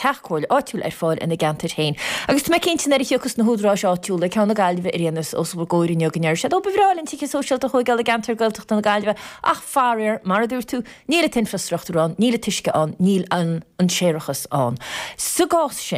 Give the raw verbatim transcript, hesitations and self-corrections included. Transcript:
teach comhairle áitiúil ar fáil ina gceantair féin. Agus tá mé cinnte nuair a thiocfas na húdaráis áitiúla ceann na Gaillimhe ar aon nós os bhur gcomhair inniu go ndéarfaidh siad ó ba bhreá linn tithe sóisialta a thógáil i gceantar Gaeltachta na Gaillimhe ach faraor mar a dúirt tú níl an t-infreastruchtúr ann, níl an t-uisce ann, níl an an séarachas ann. Sa gcás sin